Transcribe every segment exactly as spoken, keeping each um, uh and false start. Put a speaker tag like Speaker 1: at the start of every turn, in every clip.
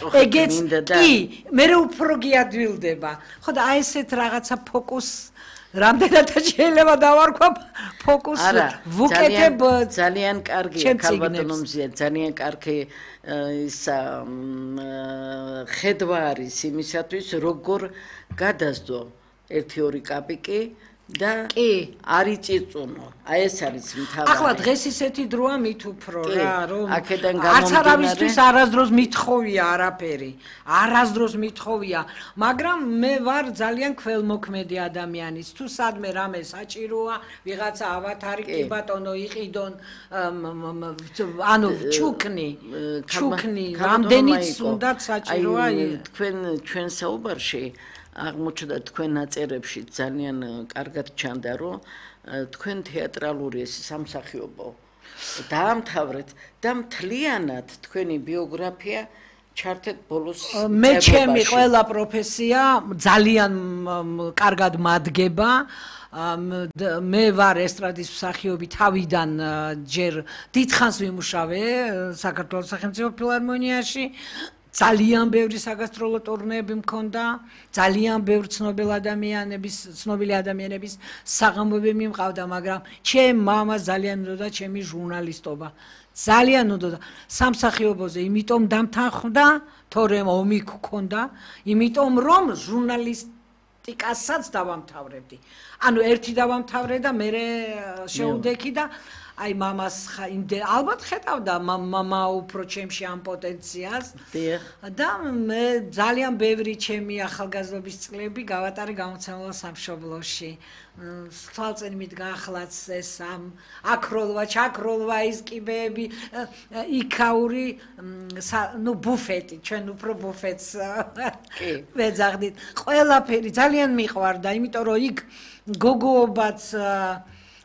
Speaker 1: ეგეც კი მე უფრო გიადვილდება ხო და აი ესეთ რაღაცა ფოკუს რამდენად შეიძლება დავარქვა ფოკუს ვუკეთებ
Speaker 2: ძალიან კარგი ქალბატონომზია ძალიან კარგი ისა ხედვა არის იმისათვის როგორ გადასდო ერთი ორი კაპიკი და კი არ იწიწუნო აი ეს არის მთავარი
Speaker 1: ახლა დღეს ისეთი დროა მით უფრო რა რომ
Speaker 2: აქედან
Speaker 1: არც არავისთვის არასდროს მithხოვია არაფერი არასდროს მithხოვია მაგრამ მე ვარ ძალიან ქველმოქმედი ადამიანი თუ სადმე რამე საჭიროა ვიღაცა ავათარი კი ბატონო იყიდონ ანუ ჩუქნი ჩუქნი რამდენიც უნდათ საჭიროა
Speaker 2: თქვენ ჩვენ საუბარში აღმოჩნდა თქვენ ნაწერებში ძალიან კარგად ჩანდა რომ თქვენ თეატრალური ეს სამსახიობო დაამთავრეთ და მთლიანად თქვენი ბიოგრაფია ჩართეთ ბოლოს
Speaker 1: მე ჩემი ყველა პროფესია ძალიან კარგად მადგება მე ვარ ესტრადის მსახიობი თავიდან ჯერ დიდხანს ვიმუშავე საქართველოს სახელმწიფო ფილარმონიაში ძალიან ბევრი საგასტროლო ტურნეები მქონდა, ძალიან ბევრი ცნობილი ადამიანების, ცნობილი ადამიანების საღამოები მიმყავდა, მაგრამ ჩემ მამას ძალიან უნდოდა ჩემი ჟურნალისტობა. ძალიან უნდოდა სამსახიობოზე, იმიტომ დამთანხმდა, თორემ ომი გქონდა, იმიტომ რომ ჟურნალისტიკასაც დავამთავრებდი. ანუ ერთი დავამთავრე და მე შეუდექი და აი მამას ალბათ ხედავდა მამა უფრო ჩემში ამ პოტენციალს და მე ძალიან ბევრი ჩემი ახალგაზრდობის წლები გავატარე გამოცემულ სამშობლოში თვალწინ მიდგა ახლაც ეს ამ აკროლვა ჩაკროლვა ის კიბეები იქაური ნუ ბუფეტი ჩვენ უფრო ბუფეტს ვეძახდით ყველაფერი ძალიან მიყვარდა იმიტომ რომ იქ გოგოობაც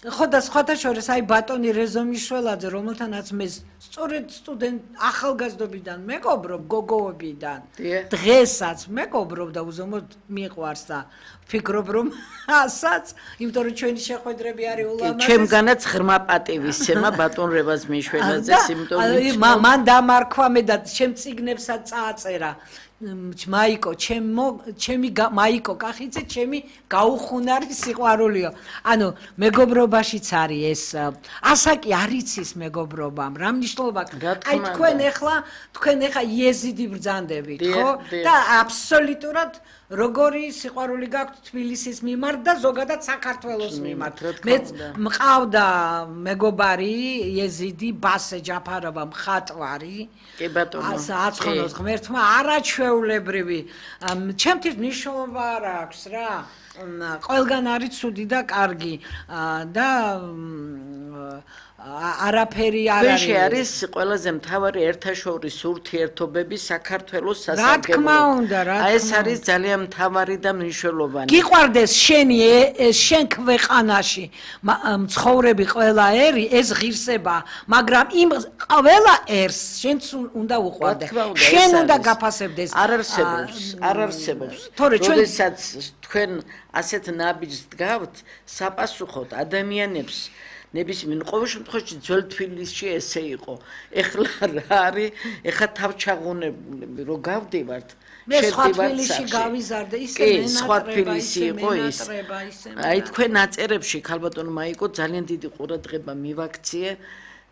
Speaker 1: ხო და სხვათა შორის აი ბატონი რეზო მიშველაძე რომელთანაც მე სწორედ სტუდენტ ახალგაზრდობიდან მეგობრობ გოგოებიდან დღესაც მეგობრობ და უზომოდ მიყვარს და ფიქრობ რომ ასაც იმიტომ რომ ჩვენი შეხვედრები არის ულამაზესი
Speaker 2: ჩემგანაც ღრმა პატივისცემა ბატონ რევაზ მიშველაძეს იმიტომ
Speaker 1: რომ მან დამარქვა მე და ჩემ წიგნებსაც წააწერა მაიკო ჩემო ჩემი მაიკო კახიძე ჩემი გაუხუნარი სიყვარულიო ანუ მეგობრობაშიც არის ეს ასაკი არ იცის მეგობრობამ რა მნიშვნელობა აი თქვენ ეხლა თქვენ ეხლა იეზიდი ბრძანდებით ხო და აბსოლუტურად როგორი სიყვარული გაქვთ თბილისის მიმართ და ზოგადად საქართველოს მიმართ მე მყავდა მეგობარი იეზიდი ბასე ჯაფაროვა მხატვარი
Speaker 2: კი ბატონო
Speaker 1: აცხონოს ღმერთმა არაჩვეულებრივი ჩემთვის მნიშვნელობა არ აქვს რა ყველგან არის ცუდი და კარგი და არაფერი არ არის.
Speaker 2: ვეშე არის ყველაზე მთავარი ერთაშორის ურთიერთობები საქართველოს სასარგებლო.
Speaker 1: რა თქმა უნდა, რა თქმა უნდა.
Speaker 2: აი ეს არის ძალიან მთავარი და მნიშვნელოვანი.
Speaker 1: გიყვარდეს შენი შენ ქვეყანაში მცხოვრები ყველა ერი ეს ღირსება, მაგრამ იმ ყველა ერს შენც უნდა უყვარდე. შენ უნდა გაფასებდეს.
Speaker 2: არ არსებობს, არ არსებობს. როდესაც თქვენ ასეთ ნაბიჯს დგავთ, საპასუხოდ ადამიანებს ნებისმიერ ყოველ შემთხვევაში ძველ თბილისში ესე იყო. ეხლა რა არის? ეხლა თავჩაღუნებული რომ გავდივართ.
Speaker 1: მე სხვა თბილისში გავიზარდე ისე
Speaker 2: მენატრება, სხვა თბილისი იყო ის. აი თქვენ ნაწერებში ქალბატონო მაიკო ძალიან დიდი ყურადღება მივაქციე.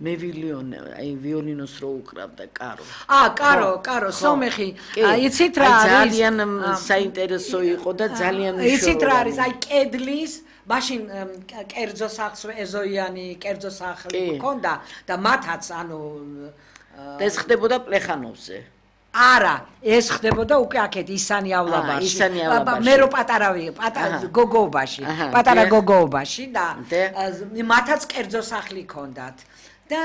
Speaker 2: მე ვილიონე, აი ვიოლინოს რო უკრავდა კარო.
Speaker 1: აა, კარო, კარო, სომეხი. იცით რა არის?
Speaker 2: ძალიან საინტერესო იყო და ძალიან მნიშვნელოვანი.
Speaker 1: იცით რა არის? აი კედლის მაშინ კერძო სახლს ეზოიანი კერძო სახლი ჰქონდა და მათაც ანუ
Speaker 2: და ეს ხდებოდა პლეხანოვზე.
Speaker 1: არა, ეს ხდებოდა უკვე აქეთ ისანი ავლაბაში. მე რო პატარა პატარა გოგოობაში, პატარა გოგოობაში და მათაც კერძო სახლი ჰქონდათ. და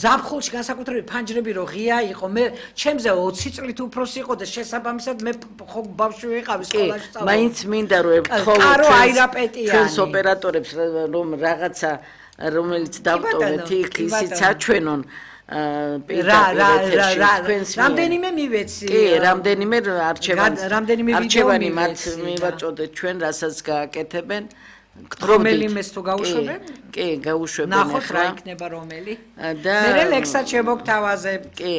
Speaker 1: ზაფხულში განსაკუთრებით ფანჯრები რო ღია იყო მე ჩემზე ოცი წლით უფროსი იყო და შესაბამისად მე ხო ბავშვი ვიყავი სკოლაში სწავლობ.
Speaker 2: მაინც მინდა რომ ერთხელ ჩვენს ოპერატორებს რომ რაღაცა რომელიც დავტოვეთ იქ ისიც აჩვენონ
Speaker 1: რა რა რა რამდენიმე მივეცი
Speaker 2: კი რამდენიმე არჩევანი არჩევანი მათ მივაწოდეთ ჩვენ რასაც გააკეთებენ
Speaker 1: რომელიმეს თუ გაუშვებენ?
Speaker 2: კი, გაუშვებენ.
Speaker 1: ნახოთ რა იქნება რომელი. მე ლექსად შემოგთავაზებ.
Speaker 2: კი.